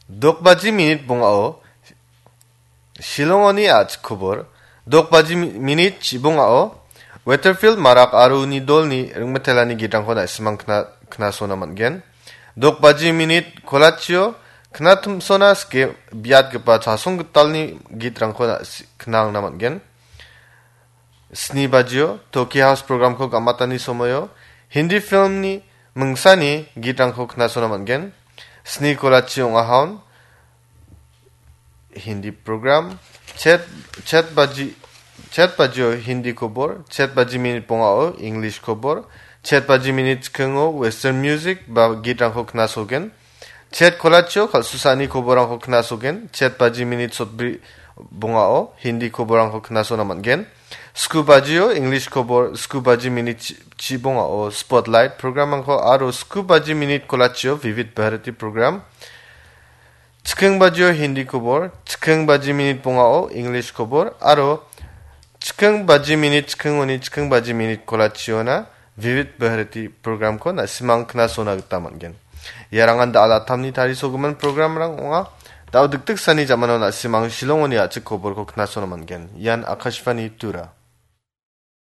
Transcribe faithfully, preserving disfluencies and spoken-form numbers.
Dokbaji minit bongao Shillongoni a·chik kobor. Dokbaji mi-, minit chibongao Weatherfield Marak aro uni dolni ringmetelani gitrangko na·simang kna-, knasona man·gen. Dokbaji minit kolachio knatimsona sike biatgipa chasong gitalni gitrangko na-, si-, knangna man·gen. Sni bajio Toki House programko gamatani somoio Hindi filmni mingsani gitrangko knasona man·gen. Sni kolachi ong·ahaon Hindi program. Chet, chet baji, chet bajio Hindi kobor, chet baji minit bongao English kobor, chet baji minit chikingo Western music ba gitrangko knasogen. Chet kolachio kal·susani koborrangko knasogen. Chet baji minit sotbri bongao Hindi koborrangko knasona man·gen. Sku bajio English kobor, sku baji minit chi-, chibongao Spotlight programrangko aro sku baji minit kolachio Vivid Bharati program. Chiking bajio Hindi kobor, chiking baji minit bongao English kobor, aro chiking baji minit chikingoni chiking baji minit kolachiona Vivid Bharati programko na·simang knasona gita man·gen. Iarangan da·al atamni tarisogimin programrang ong·a. Da·o dikdiksani jamano na·simang Shillongoni a·chik koborko knasona man·gen. Ian Akashvani Tura.